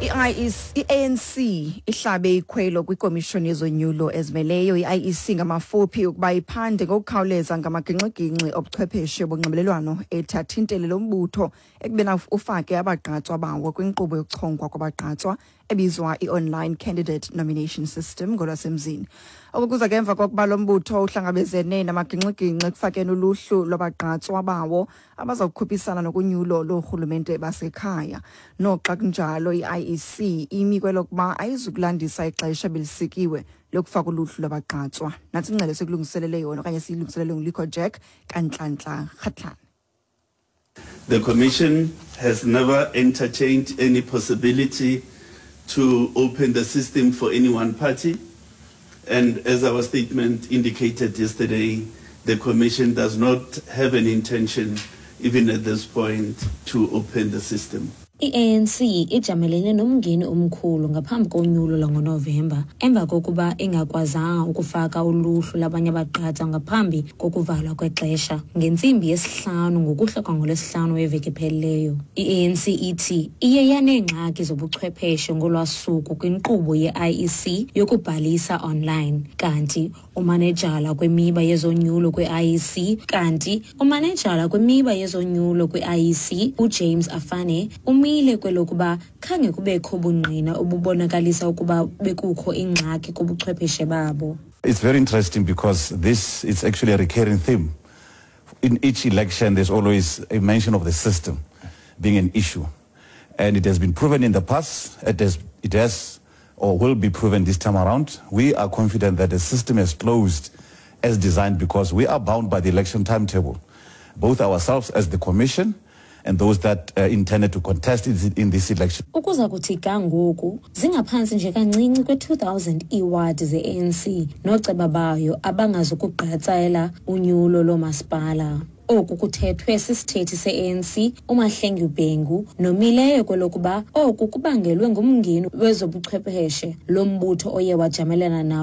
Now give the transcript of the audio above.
I-ANC ihlabe ikhwelo kwikomishoni yezonyulo ezimeleyo i-IEC ngamafuphi ukuba iphande ngokukhawuleza ngamagingxigingxi obuchwepheshe bonxibelelwano ethi athintele lo mbutho ekubeni ufake abagqatswa bawo kwinkqubo yokuchongwa kwabagqatswa ebizwa i-Online Candidate Nomination System ngolwasemzini. Oku kuza ke emva kokuba lo mbutho uhlangabezene namagingxigingxi ekufakeni uluhlu lwabagqatswa bawo abaza kukhuphisana nokunyulo loorhulumente basekhaya. Noxa kunjalo, i-IEC imi kwelokuba ayizukulandisa ixesha belisikiwe lokufaka uluhlu lwabagqatswa. Nantsi ingxelo esikulungiselele yona okanye siyilungiselele nguLikho Jack kaNtlantla Kgatlana. The Commission has never entertained any possibility to open the system for any one party. And as our statement indicated yesterday, the Commission does not have an intention, even at this point, to open the system. I-ANC ijamelene nomngeni omkhulu ngaphambi konyulo lwangoNovemba emva kokuba ingakwazanga ukufaka uluhlu lwabanye abagqatswa ngaphambi kokuvalwa kwexesha ngentsimbi yesihlanu ngokuhlwa kwangolwesihlanu weveki ephelileyo. I-ANC ithi iye yaneengxaki zobuchwepheshe ngolwa suku kwinkqubo ye-IEC yokubhalisa online, kanti umanejala kwimiba yezonyulo kwi-IEC kanti umanejala kwimiba yezonyulo kwi-IEC uJames Afane umile kwelokuba khange kubekho bungqina obubonakalisa ukuba bekukho ingxaki kubuchwepheshe babo. It's very interesting because this is actually a recurring theme. In each election, there's always a mention of the system being an issue. And it has been proven in the past, it has or will be proven this time around. We are confident that the system has closed as designed because we are bound by the election timetable, both ourselves as the Commission and those that intended to contest in this election. Ukuza kuthi ga ngoku zingaphantsi nje kancinci kwe-2000 iiwadi ze-ANC nooceba bayo abangazukugqatsela unyulo loomasipala. Oku kuthethwe sisithethi se-ANC uMahlengi Bhengu nomileyo kwelokuba oku kubangelwe ngumngeni wezobuchwepheshe lo mbutho oye wajamelana nawo.